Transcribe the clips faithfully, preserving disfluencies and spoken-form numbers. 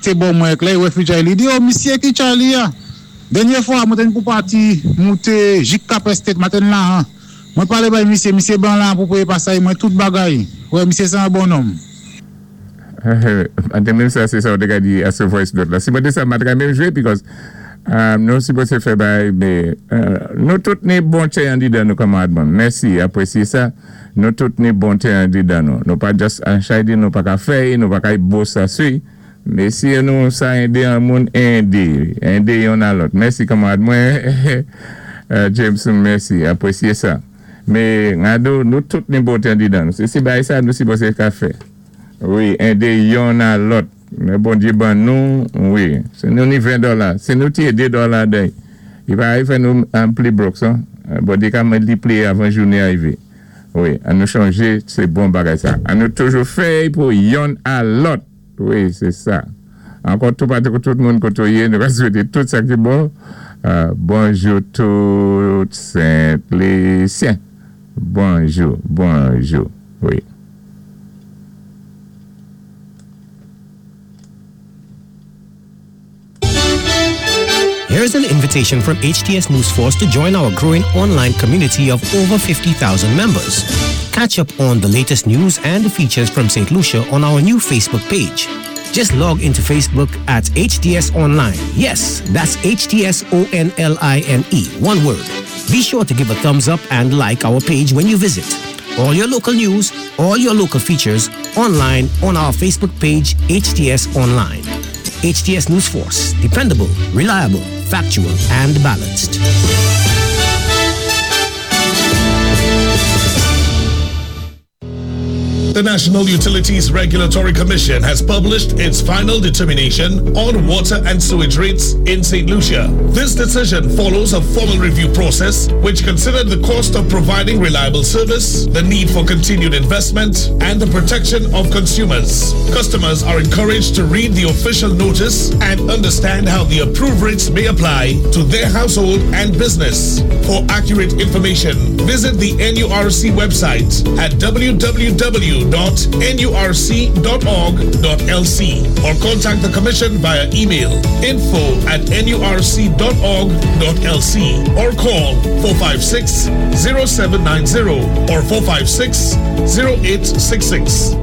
Té bò mwen, lè i wè fi Charlie, di, "Oh, misyé ki Charlie ya." Dènyé fwa, mwen té pou pati, mouté Jik Cap Estate, maten la, an. Mwen palé bay misyé, misyé ban la pou péyé pasay, mwen tout bagay. Wè, misyé sé an bon nonm. Ante menm sa, sé sa ou té ka di a sé voice note la. Si mwen té sa, mwen té ka menm jwé because um, nou sipozé fè bay, mé uh, nou tout ni bonté andidan nou, kanmarad mwen. Mèsi, apwésyé sa. Nou tout ni bonté andidan nou. Nou pa just an chay di nou pa ka fè, nou pa ka bos sa sui. Mé si nou sa édé an moun édé, édé youn a lòt. Mèsi, kanmarad mwen. Uh, Jameson, mèsi, apwésyé sa. Mé ngado, nou tout ni bonté andidan nou. Sé si bay sa nou sipozé ka fè. Wi, édé youn a lòt. Mé Bondyé ban nou, wi. Si nou ni ven dola, si nou ti édé dola dey, i pa ay fè nou an pli broke, son. Bondyé ka miltipliyé avan jounen arivé. Wi, an nou chanjé, sé bon bagay sa. An nou toujou fè pou youn a lòt. Wi, sé sa. Ankò tou patou tout moun koto yé, nou va swété tout sa ki bon. Euh, bonjou tout Sent-Lisyen. Bonjou, bonjou. Wi. Here's an invitation from H T S News Force to join our growing online community of over fifty thousand members. Catch up on the latest news and features from Saint Lucia on our new Facebook page. Just log into Facebook at H T S Online. Yes, that's H T S O N L I N E, one word. Be sure to give a thumbs up and like our page when you visit. All your local news, all your local features online on our Facebook page, H T S Online. H T S News Force, dependable, reliable, factual, and balanced. The National Utilities Regulatory Commission has published its final determination on water and sewage rates in Saint Lucia. This decision follows a formal review process which considered the cost of providing reliable service, the need for continued investment, and the protection of consumers. Customers are encouraged to read the official notice and understand how the approved rates may apply to their household and business. For accurate information, visit the N U R C website at w w w dot nurc dot org dot l c or contact the Commission via email info at nurc dot org dot l c or call four five six, zero seven nine zero or four five six, zero eight six six.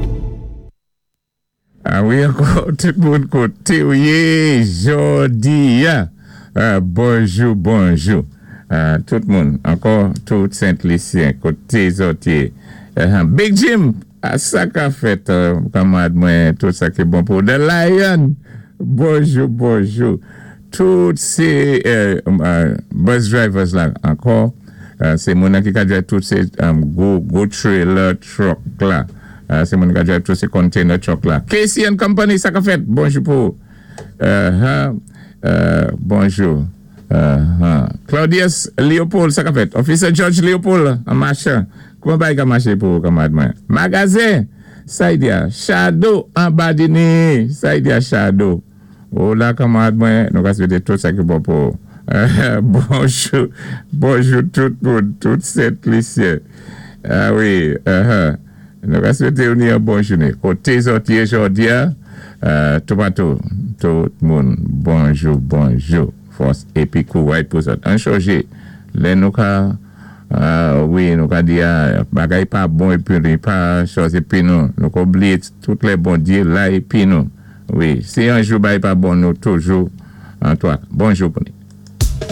Ah wi, ankò tout moun koté ou yé jòdi a. Ah, bonjou, bonjou. Ah, tout moun, ankò tout Sent-Lisyen, koté zòt yé. Uh, Big Jim, a sa ka fèt, uh, kanmarad mwen, tout sa ki bon pou The Lion. Bonjou, bonjou. Tout sé uh, uh, bus drivers la, ankò, uh, sé moun ki ka drive tout sé um, gwo, gwo trailer truck la. Uh, sé moun ka drive tout sé container truck la. Casey and Company, sa ka fèt, bonjou pou. Uh, huh, uh, bonjou. Uh, huh. Claudius Leopold, sa ka fèt. Officer George Leopold, an machan. Kouman bay ka maché pou kanmarad mwen? Magazen, sa i di a, Shadow an Badini. Sa i di a Shadow. Oh la, kanmarad mwen, nou ka swété tout sa ki bon pou. Bonjou, bonjou tout moun, tout Sent-Lisyen. Ah wi, uh-huh. Nou ka swété ou ni an bon jouné. Koté zòt yé jòdi a, uh, tout patou, tout moun, bonjou, bonjou. Fòs épi kouway pou zòt. An chonjé, lè nou ka, uh, wi, nou ka di a, bagay pa bon épi li pa chòz épi nou. Nou ka oubliyé tout lè Bondyé la épi nou. Wi, si an jou bagay pa bon nou toujou an twa. Bonjou pou ni.